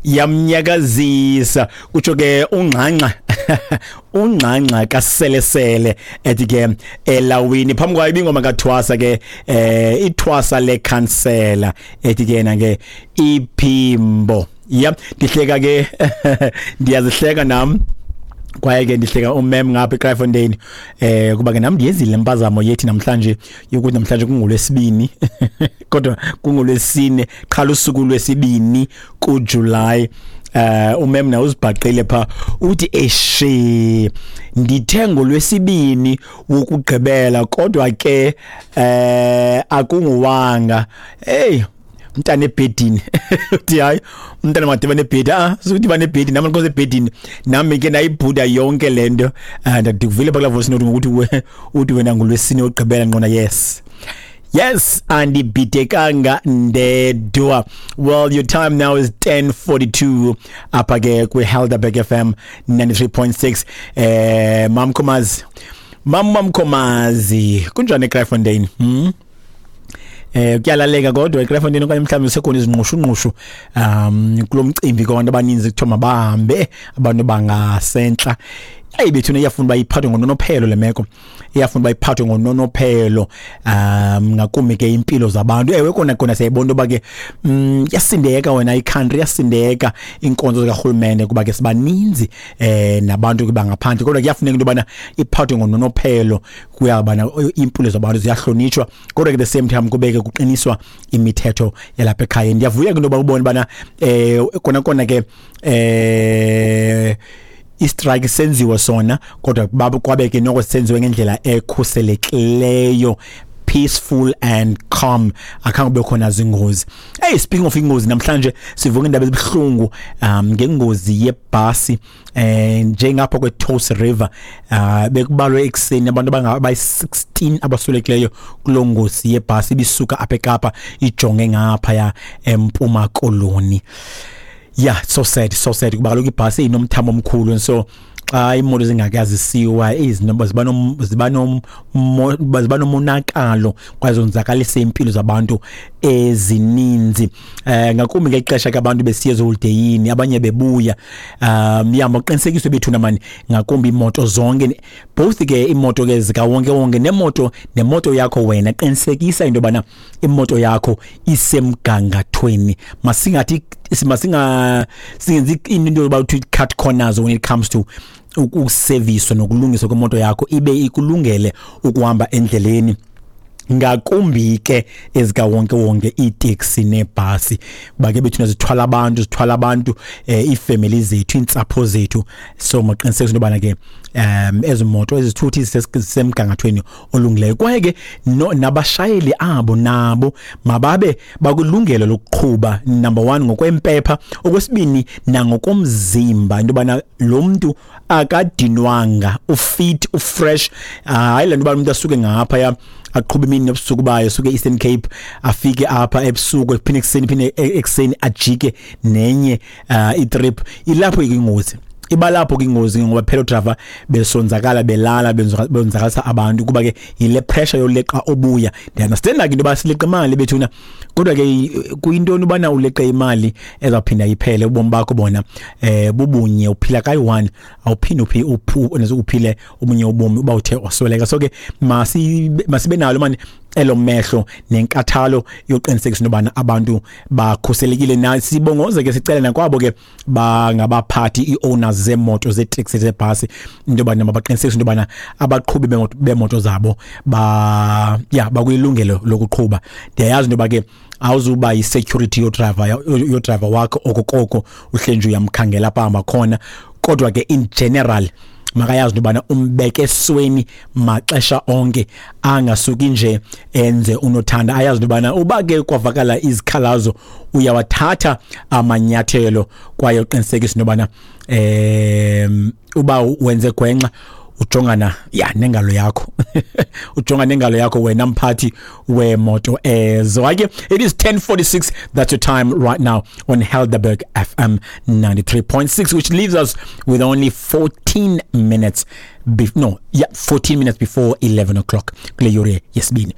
Yamnyakazisa kutsho ke ungxangxa, ungxangxa kaselesele ethi ke elawini. Phambi kwayo ibingoma kathwasa ke, ithwasa lekhansela ethi ke yena ke iphimbo. Yep, ndihleka ke, ndiyazihleka nam kwaye ke ndihleka umem ngapha eKraaifontein, kuba ke nam ndiyenzile impazamo yethi namhlanje yokuthi namhlanje kungolwesibini, kodwa kungolwesine qhala usuku lwesibini kuJuly. Umem na uzibhaqile pha, uthi eshe ndithe ngolwesibini wokugqibela, kodwa ke akunguwanga. Hey mntana ebhedini, uthi hayi umntana madibane ebhedi, sukuthi bane ebhedi nami nkosi ebhedini nami ke ndayibhuda yonke lento. Ndikuvile phakula voice note ngokuthi uthi wena ngolwesine wokugqibela nqona. Yes, andibhidekanga ndedwa. Well, your time now is 10:42 apha ke kwi-Helderberg FM 93.6. Mamkhomazi, Mamkhomazi, kunjani eKraaifontein? Kuyalaleka kodwa eKraaifontein okanye mhlawumbe sekhona izinqushu-nqushu kulo mcimbi kwabantu abaninzi kuthiwa mabahambe abantu bangasentla? Eyi bethuna, iyafuna uba iphathwe ngononophelo le meko, iyafuna uba iphathwe ngononophelo, ngakumbi ke impilo zabantu. Ewe kona kona siyayibona into yoba ke yasindeka wena i-country, yasindeka iinkonzo zikarhulumente kuba ke sibaninzi nabantu ke bangaphandle, kodwa kuyafuneka into yobana iphathwe ngononophelo, kuyabana iimpilo zabantu ziyahlonitshwa, kodwa ke the same time kubeke kuqiniswa imithetho yalapha ekhaya. Ndiyavuya ke into yoba ubone ubana kona kona ke i-strike senziwe sona, kodwa kwabe ke noko senziwe ngendlela ekhuselekileyo, peaceful and calm, akhange kube khona zingozi. Hey, speaking of ingozi, namhlanje sivuka indaba ezibuhlungu ngengozi yebhasi njengapha kwe-Touws River. Bekubalwe ekuseni abantu abayi-16 abaswelekileyo kuloo ngozi yebhasi ibisuka apha eKapa ijonge ngaphaya eMpuma Koloni. Yeah, so sad, so sad, kuba kaloku ibhasi inomthamo omkhulu and so xa imoto zingakazisiwa izinto ziba nomonakalo kwaye zonzakalisa impilo zabantu ezininzi, ngakumbi ngexesha ke abantu besiya eziholideyini, abanye bebuya. Ya, maqinisekiswe bethuna mani, ngakumbi imoto zonke, both ke imoto ke zikawonke wonke nemoto yakho wena, qinisekisa into yobana imoto yakho isemgangathweni. Masingathi masinga singenzi into yoba uthi cut corners when it comes to ukuseviswa nokulungiswa kwemoto yakho ibe ikulungele ukuhamba endleleni, ngakumbi ke ezikawonke wonke, iiteksi neebhasi, kuba ke bethuna zithwala abantu, zithwala abantu, iifemeli zethu, iintsapho zethu. So maqinisekise into yobana ke ezi moto, ezithuthi zisemgangathweni olungileyo, kwaye ke no, nabashayeli abo nabo mababe bakulungelo lokuqhuba, number 1 ngokwempepha, okwesibini nangokomzimba, into yobana lo mntu akadinwanga, ufit, ufresh. Hayi le nto uba umuntu asuke ngaphaya aqhube imini nobusuku bayo, suke e-Eastern Cape afike apha ebusuku, ephinde ekuseni, phinde ekuseni ajike nenye itrip. Ilapho ingozi iba lapho ke ingozi, ngoba phela driver besonzakala, belala, benzakalisa abantu, kuba ke yile pressure yoleqa obuya. Ndiyaunderstand ke into yoba sileqa imali bethuna, kodwa ke kuyintoni ubana uleqe imali ezawuphinda iphele? Ubomi bakho bona bubunye, uphila kayi-one, awuphinde uphile obunye ubomi uba uthe wasweleka. So ke masibe nalo mani elo mehlo nenkathalo yoqinisekisa into yobana abantu bakhuselekile. Na sibongoze ke, sicele nakwabo ke bangabaphathi, ii-owners zeemoto, zeeteksi, zebhasi, into yobana mabaqinisekise into yobana abaqhubi beemoto zabo ba ya bakwilungelo lokuqhuba. Ndiyayazi into yoba ke awuzuba yi-security yodrayiva wakho okokoko uhleli nje uyamkhangela apha ahamba khona, kodwa ke in general makayazi into yobana umbeke esweni maxesha onke, angasuki nje enze unothanda. Ayazi into yobana uba ke kwavakala izikhalazo uyawathatha amanyathelo, kwaye uqinisekisa into yobana uba wenze gwenxa ujongana ya nengalo yakho, ujonga nengalo yakho wena mphathi wemoto ezo. Hayi ke, it is 10:46, that's your time right now on Helderberg FM 93.6, which leaves us with only 14 minutes, no, yeah, 14 minutes before 11 o'clock kule yure yesibini.